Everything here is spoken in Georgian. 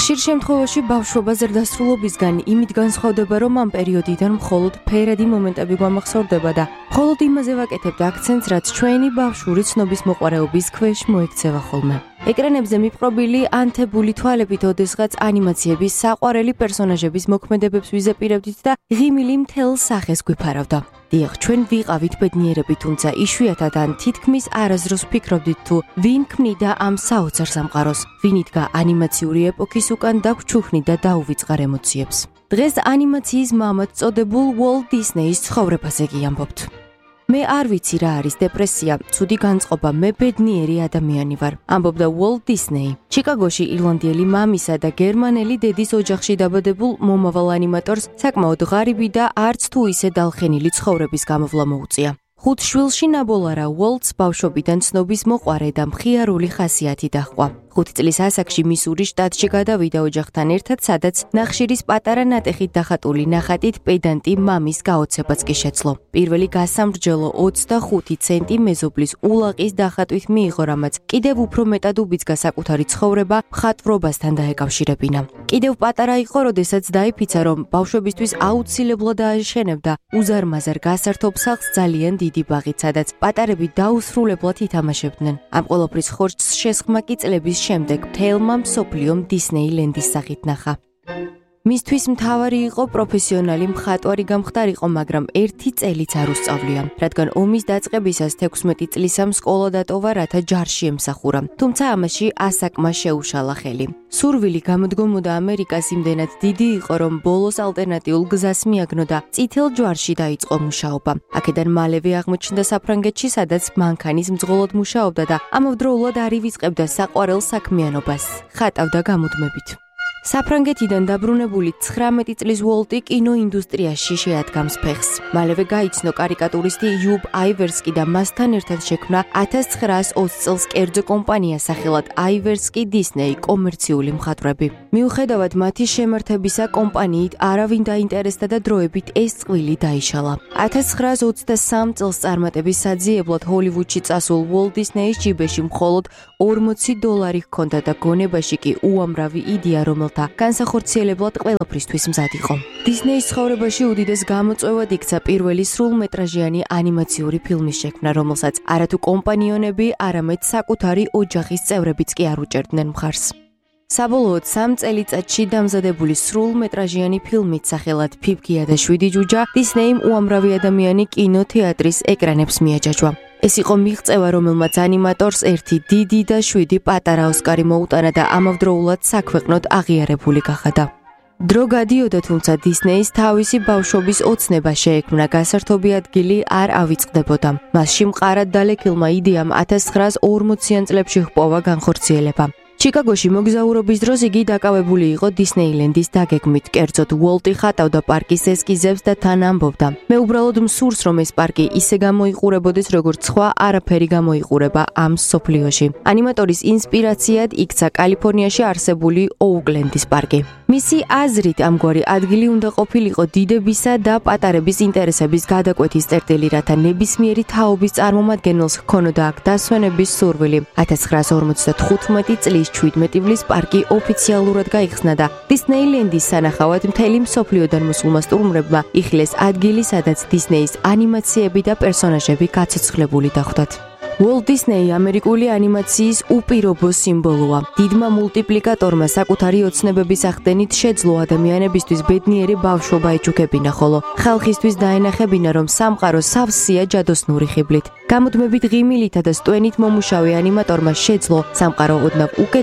ხშირ შემთხვევაში ბავშვობა ზრდასრულობისგან იმით განსხვავდება, რომ ამ პერიოდიდან მხოლოდ ფერადი მომენტები გვამახსოვრდება და მხოლოდ იმაზე ვაკეთებთ აქცენტს, რაც ჩვენი ბავშვური ცნობის მოყვარეობის ქვეშ მოექცევა ხოლმე. ეკრანებზე მიპყრობილი ანთებული თვალებით ოდესღაც ანიმაციების საყვარელი პერსონაჟების მოქმედებებს ვიზაპირებდით და ღიმილი მთელ სახეს გვიფარავდა. დიახ, ჩვენ ვიყავით ბედნიერები, თუმცა იშვიათად ან თითქმის არასდროს ვფიქრობდით თუ ვინ ქმნიდა ამ საოცარ სამყაროს, ვინ იდგა ანიმაციური ეპოქის უკან და გვჩუქნიდა დაუვიწყარ ემოციებს. დღეს ანიმაციის მამად წოდებულ Walt Disney-ის ცხოვრებაზე გიამბობთ. მე არ ვიცი რა არის დეპრესია, ცუდი განწყობა, მე ბედნიერი ადამიანი ვარ, ამბობდა Walt Disney. ჩიკაგოში ირლანდიელი მამისა და გერმანელი დედის ოჯახში დაბადებულ მომავალ ანიმატორს საკმაოდ ღარიბი და არც თუ ისე დალხენილი ცხოვრების გამოვლა მოუწია. 5 შვილში ნაბოლარა Walt-ს ბავშვობიდან ცნობის მოყვარე და მხიარული ხასიათი დაჰყვა. 5 წლის ასაკში მისურის შტატში გადავიდა ოჯახთან ერთად, სადაც ნახშირის პატარა ნატეხით დახატული ნახატით პედანტი მამის გაოცებაც კი შეძლო. პირველი გასამრჯელო 25 ცენტი მეზობლის ულაყის დახატვით მიიღო, რამაც კიდევ უფრო მეტად უბიძგა საკუთარი ცხოვრება მხატვრობასთან დაეკავშირებინა. კიდევ პატარა იყო, როდესაც დაიფიცა, რომ ბავშვებისთვის აუცილებლად აეშენებდა უზარმაზარ გასართობ სახლს ძალიან დიდი ბაღით, სადაც პატარები დაუსრულებლად ითამაშებდნენ. ამ ყოველფრის ხორცს შესხმა კი წლების შემდეგ მთელმა მსოფლიომ დისნეილენდის სახით ნახა. მისთვის მთავარი იყო პროფესიონალი მხატვარი გამხდარიყო, მაგრამ ერთი წელიც არ უსწავლია, რადგან ომის დაწყებისას 16 წლისამ სკოლა დატოვა, რათა ჯარში ემსახურა. თუმცა ამაში ასაკმა შეუშალა ხელი. სურვილი გამოდგომოდა ამერიკას იმდენად დიდი იყო, რომ ბოლოს ალტერნატიულ გზას მიაგნო და წითელ ჯვარში დაიწყო მუშაობა. აქედან მალევე აღმოჩნდა საფრანგეთში, სადაც მანქანის მძღოლად მუშაობდა და ამავდროულად არ ივიწყებდა საყვარელ საქმიანობას, ხატავდა გამუდმებით. საფრანგეთიდან დაბრუნებული 19 წლის Walt-ი კინოინდუსტრიაში შეადგამს ფეხს. მალევე გაიცნო კარიკატურისტი იუბ აივერსკი და მასთან ერთად შექმნა 1920 წელს კერძო კომპანია სახელად აივერსკი Disney კომერციული მხატვრები. მიუხედავად მათი შემართებისა, კომპანიით არავინ დაინტერესდა და დროებით ეს წყვილი დაიშალა. 1923 წელს წარმატების საძიებლად ჰოლივუდში წასულ Walt Disney-ის ჯიბეში მხოლოდ $40 ჰქონდა და გონებაში კი უამრავი იდეა, რომელთა განსახორციელებლად ყველაფრისთვის მზად იყო. დისნეის ცხოვრებაში უდიდეს გამოწვევად იქცა პირველი სრულმეტრაჟიანი ანიმაციური ფილმის შექმნა, რომელსაც არათუ კომპანიონები, არამედ საკუთარი ოჯახის წევრებიც კი არ უჭერდნენ მხარს. საბოლოოდ 3 წელიწადში დამზადებული სრულმეტრაჟიანი ფილმით სახელად ფიფქია და 7 ჯუჯა დისნეიმ უამრავი ადამიანი კინოთეატრის ეკრანებს მიაჯაჭვა. ეს იყო მიღწევა, რომელმაც ანიმატორს 1 დიდი და 7 პატარა ოსკარი მოუტანა და ამავდროულად საქვეყნოდ აღიარებული გახადა. დრო გადიოდა, თუმცა დისნეის თავისი ბავშვობის ოცნება შეექმნა, გასართობი ადგილი არ ავიწყდებოდა. მასში მყარად დალექილმა იდეამ 1940-იან წლებში ჰპოვა განხორციელება. ჩიკაგოში მოგზაურობის დროს იგი დაკავებული იყო დისნეილენდის დაგეგმით, კერძოდ Walt-ი ხატავდა პარკის ესკიზებს და თან ამბობდა: მე უბრალოდ მსურს, რომ ეს პარკი ისე გამოიყურებოდეს, როგორც სხვა არაფერი გამოიყურება ამ სოფლიოში. ანიმატორის ინსპირაციად იქცა კალიფორნიაში არსებული ოუკლენდის პარკი. მისი აზრით ამგვარი ადგილი უნდა ყოფილიყო დიდებისა და პატარების ინტერესების გადაკვეთის წერტილი, რათა ნებისმიერი თაობის წარმომადგენელს ჰქონოდა აქ დასვენების სურვილი. 1955 წლის 17 ივლის პარკი ოფიციალურად გაიხსნა და დისნეილენდის სანახავად მთელი მსოფლიოდან მოსულმა სტუმრებმა იხილეს ადგილი, სადაც დისნეის ანიმაციები და პერსონაჟები გაცოცხლებული დახვდათ. Walt Disney ამერიკული ანიმაციის უპირობო სიმბოლოა. დიდმა მულტიპლიკატორმა საკუთარი ოცნებების ახდენით შეძლო ადამიანებისთვის ბედნიერი ბავშვობა ეჩუქებინა, ხოლო ხალხისთვის დაენახებინა, რომ სამყარო სავსეა ჯადოსნური ხიბლით. გამუდმებით ღიმილითა და სტვენით მომუშავე ანიმატორმა შეძლო სამყარო ოდნავ უკეთ